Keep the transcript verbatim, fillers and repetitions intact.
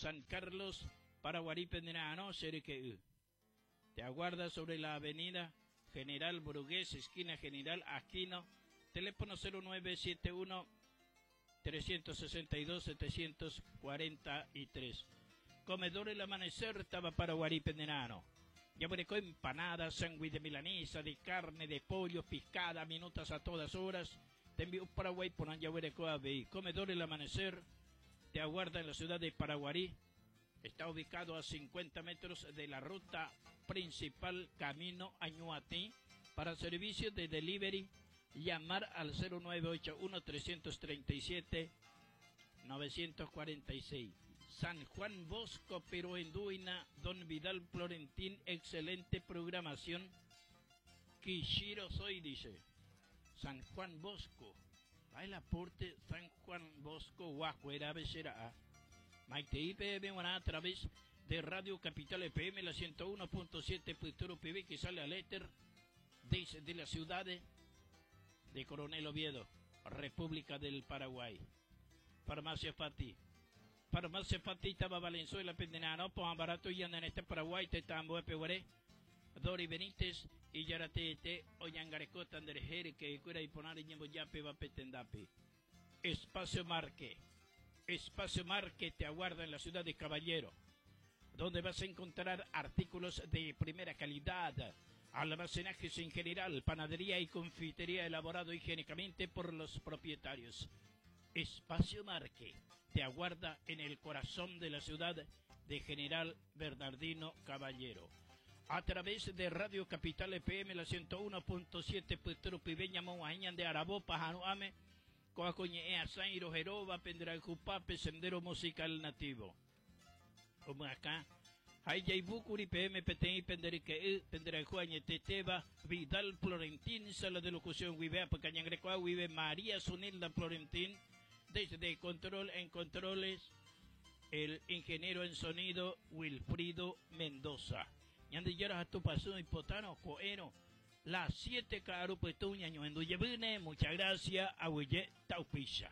San Carlos, Paraguarí, Pendenano, C R Q. Te aguarda sobre la avenida General Brugués, esquina General Aquino, teléfono cero nueve siete uno trescientos sesenta y dos setecientos cuarenta y tres. Comedor El Amanecer, estaba Paraguarí, Pendenano. Ya empanadas, sándwich de milanesa, de carne, de pollo, piscada, minutas a todas horas. Tembi'u Paraguay porã jaguereko avei. Comedor El Amanecer te aguarda en la ciudad de Paraguarí. Está ubicado a cincuenta metros de la ruta principal camino a Ñuatí. Para servicio de delivery, llamar al cero nueve ocho uno trescientos treinta y siete novecientos cuarenta y seis. San Juan Bosco, Peroenduina, Don Vidal Florentín, excelente programación. Quishiro soy, dice. San Juan Bosco. Va el aporte San Juan Bosco, Guajuera, Becerra. Maite I P M a través de Radio Capital F M, la ciento uno punto siete Futuro P V que sale al éter desde la ciudad de Coronel Oviedo, República del Paraguay. Farmacia Fati. Farmacia Fati estaba Valenzuela Pendenano, Poan Barato y en este Paraguay, Tetambo, Epeguaré, Dori Benítez y Yaratete, Oñangarecota, Anderjere, que cura y ponar y Yape, Vapetendape. Espacio Marque. Espacio Marque te aguarda en la ciudad de Caballero, donde vas a encontrar artículos de primera calidad, almacenajes en general, panadería y confitería elaborado higiénicamente por los propietarios. Espacio Marque te aguarda en el corazón de la ciudad de General Bernardino Caballero. A través de Radio Capital F M, la ciento uno punto siete Petro Pibeña Moañan de Arabó, Pajano Ame, Coacoñe Zairo Jeroba, Pendrajupape, Sendero Musical Nativo. Como acá, Hayay P M P T I Penderique Pendrajuañe Teteba, Vidal Florentín, Sala de Locución Huivea, Pacañangrecoa, Huive María Sunilda Florentín, desde control en controles, el ingeniero en sonido Wilfrido Mendoza. Ñande tu y potano, coeno, las siete caru petuña, muchas gracias, aguyje taupeicha.